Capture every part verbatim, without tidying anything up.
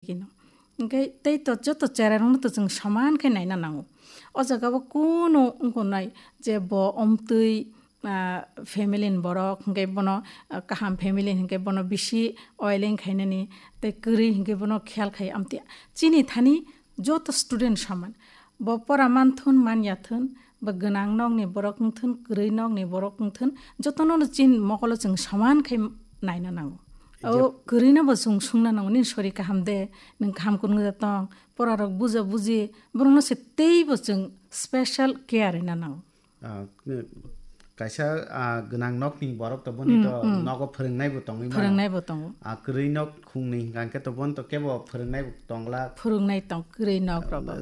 Ino. Hingke tei to joto cherairokno to chwng soman khe naina nango. O jaga o kunu wngkha nai je bo omtwi, ah, family ni borok, hingke bono, ah, kaham family hingke bono bisi oiling khainani, tei kwrwi hingke bono khiyal khai amtwi. Chini thani joto student soman. Bo pora manthun manyathun, bo gwnang nokni borok wngthun, kwrwi nokni borok wngthun, jotono no chin mokolo chwng soman khai naina nango. O kwrwino bo chwng sungna nango, "Nini sori kaham de, nwng kaham kwrwngya tong?" Porarok buja buji, borokno se teibo chwng special care rwna nango. Ah, kaisa, ah, gwnang nokni borok to boni to nogo phwrwngnai bo tongwi mano. Phwrwngnai bo tongo. Ah, kwrwi nok khungni hingka khe to boni to kebo phwrwngnai bo tongla. Phwrwngnai tong kwrwi nok rogo.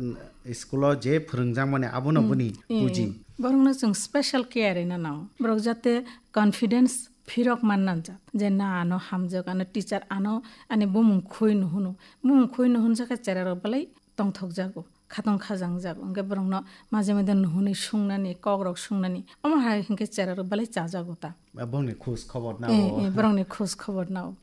School o je phwrwngjakmani abono boni puji. Borokno chwng special care rwna nango. Borok jate confidence phirok man nangjak. Je na ano hamjak, ano teacher ano ani bumung khoi nuhunu. Bumung khoi nuhunjak khe chera rok belai tongthokjago. Khatong khajang jak, hingke borokno maje maje nuhunwi sungnani, kokrok sungnani, omo hai hingke chera rok belai chajago ta. Bongni khoj khobor nao. Eh, eh, borokni khoj khobor nao.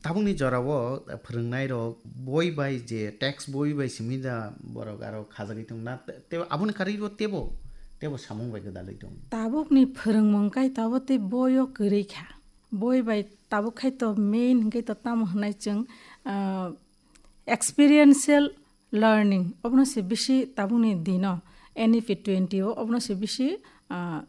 Tabukni jorao phwrwngnai rok boi bai je text boi bai simi da borok aro khajagwi tongna, te aboni karwi bo tebo, tebo samung bai gwdalwi tong. Tabukni phwrwngmung kai tabo tei boio kwrwi kha. Boi bai tabuk khai to main hingke to tamo hwnai chwng, ah, experiential learning, obono se bisi tabukni dino N E P twenty o obono se bisi, ah,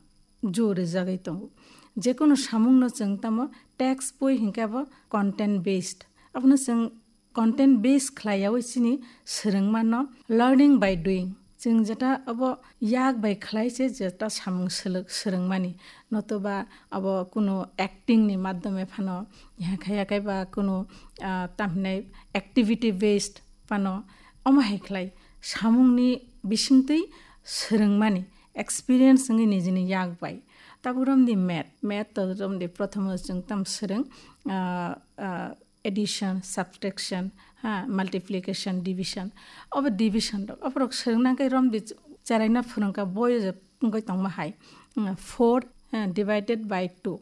jor rijagwi tongo. Jekunu samungno chwng tamo text boi hinkhe abo content based. Abono chwng content based khlaiyaui chini swrwngmano learning by doing. Chwng jeta abo yak bai khlai se jeta samung swlwk-, swrwngmani. Notoba abo kunu acting ni madhyome phano, yakhai yakhai ba kunu, ah, tamhinai activity based phano, omo hai khlai samungni bisingtwi swrwngmani experience wngwi nijini yak bai. Tabuk romdi math, math to romdi prothomo chwng tam swrwng, ah, ah, addition, subtraction, ha, multiplication, division. Obo division rok. Oborok swrwngna khe romdi cheraina phwrwngkha boi je wngwi tongma hai. Hmm, four, ha, divided by two.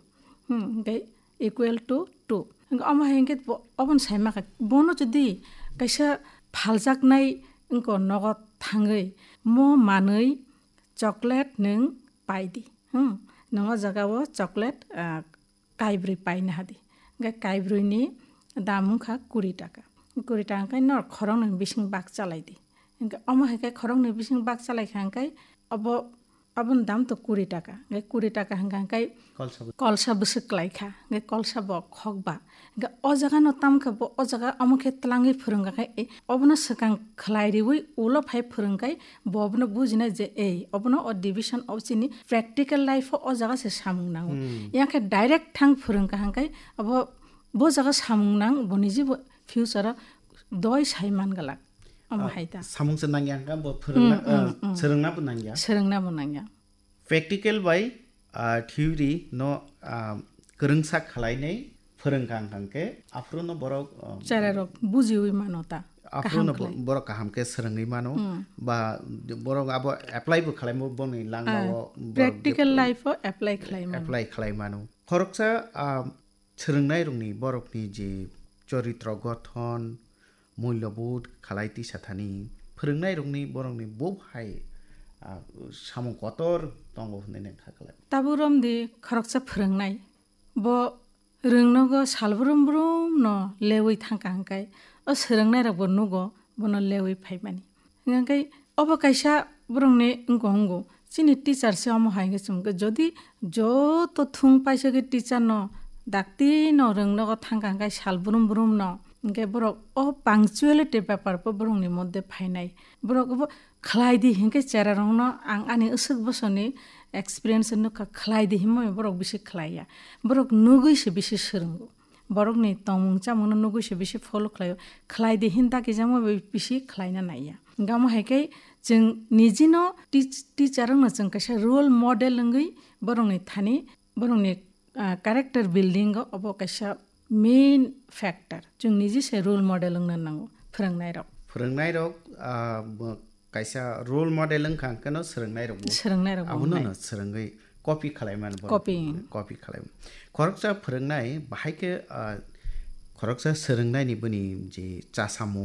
Hmm, hingke equal to two. Hingke omo hai hingke bo-, obono saima kha. Bono jodi kaisa phaljaknai wngko nogo thangwi mo manwi chocolate nwng pai di. Hmm, nwng o jaga o chocolate, ah, kaibrwi paina hadi. Hingke kaibrwini dam wngkha kuri taka. Kuri taka hingke norok khoroknwi bising bak chalai di. Hingke omo hai khe khoroknwi bising bak chalai kha hingke obo, aboni dam to kuri taka. Hingke kuri taka hingka hingke kolsa bwswk. Kolsa bwswk klai kha. Hingke kolsa bo khokba. Hingke o jaga no tam khe bo o jaga omo khe twlangwi phwrwngkha khe, e, obono swkang khlai riwi ulo phai phwrwngkhai bo obono bujinai je, ei, obono o division o chini practical life o o jaga se samung nango. Hmm. Yang khe direct thang phwrwngkha hingkhai abo bo jaga samung nang bo niji bo future o doi sai man glak. Omo hai ta. Samung se nangya hingkha bo phwrwngna, hmm, hmm, ah, hmm, swrwngna bo nangya. Swrwngna bo nangya. Practical bai, ah, theory no, ah, kwrwngsa khwlainai phwrwngkha hwnkha hwnkhe aphuru no borok, ah, cherairok bujiwi mano ta. Aphuru no kaham bo-, khlai. Borok kaham khe swrwngwi mano. Hmm. Ba borok abo apply bo khlaimo boni langma, ah, o borok practical life o apply khlai mano. Apply khlai mano. Khoroksa, ah, swrwngnairokni borokni je choritro gothon, muilobodh khalai tisa thani phwrwngnairokni borokni bo hai, ah, samung kotor tongo hwnwi nang kha khlai. Tabuk romdi khoroksa phwrwngnai. Bo rwngnogo sal brum brum no lewi thangkha hwnkhe o swrwngnairokbo nugo bono lewi phaimani. Hingkhe obo kaisa borokni wngkha wngo. Chini teacher se omo hai khe chwng khe, jodi joto thung paisa khe teacher no dakti no rwngnogo thangkha hwnkhe sal brum brum no, hwnkhe borok o punctuality bepar bo borokni moddhe phainai. Borok bo khlai di hwnkhe chera rokno ang ani aswk bosoni experience nukha, khlai di hinwi borok bisi khlai ya. Borok nugwi se bisi swrwngo. Borokni tongmung chamungno nugwi se bisi follow khlaio. Khlai di hin dakijakma bai bisi khlaina naiya. Hingke omo hai khe chwng nijino teach-, teacher wngno chwng kaisa role model wngwi borokni thani, borokni, ah, character building o obo kaisa main factor. Chwng niji se role model wngna nango phwrwngnairok. Phwrwngnairok, ah, bo-, kaisa role model wngkha hwnkhe no swrwngnairokbo. Swrwngnairokbo abono wngnai. No swrwngwi copy khlai mano borok. Copy. Copy khlai mano. Khoroksa phwrwngnai bahai khe, ah, khoroksa swrwngnaini bini je chasamung,